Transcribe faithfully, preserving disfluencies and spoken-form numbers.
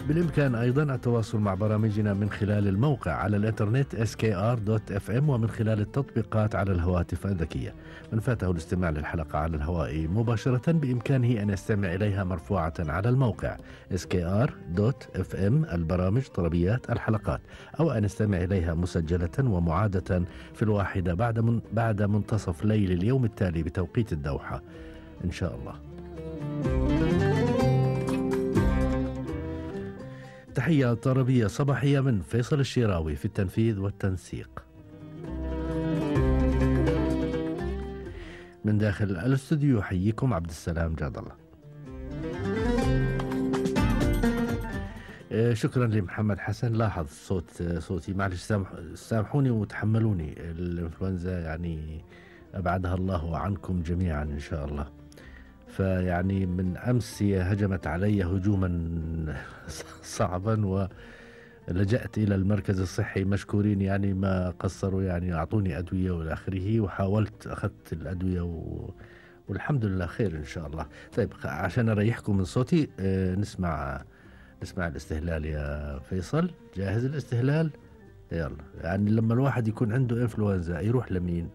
بالإمكان أيضا التواصل مع برامجنا من خلال الموقع على الإنترنت إس كي آر دوت إف إم ومن خلال التطبيقات على الهواتف الذكية. من فاته الاستماع للحلقة على الهواء مباشرة بإمكانه أن يستمع إليها مرفوعة على الموقع إس كي آر دوت إف إم البرامج طلبيات الحلقات، أو أن يستمع إليها مسجلة ومعادة في الواحدة بعد من بعد منتصف ليل اليوم التالي بتوقيت الدوحة إن شاء الله. تحية طربية صباحية من فيصل الشيراوي في التنفيذ والتنسيق. من داخل الاستوديو يحييكم عبد السلام جاد الله. شكرا لمحمد حسن. لاحظ صوت صوتي، معلش سامح سامحوني وتحملوني، الانفلونزا يعني أبعدها الله عنكم جميعا إن شاء الله. فيعني من أمس هجمت علي هجوما صعبا ولجأت إلى المركز الصحي مشكورين، يعني ما قصروا، يعني أعطوني أدوية والآخره، وحاولت أخذت الأدوية و... والحمد لله خير إن شاء الله. طيب عشان أريحكم من صوتي نسمع نسمع الاستهلال يا فيصل. جاهز الاستهلال؟ يلا. يعني لما الواحد يكون عنده إنفلونزا يروح لمين؟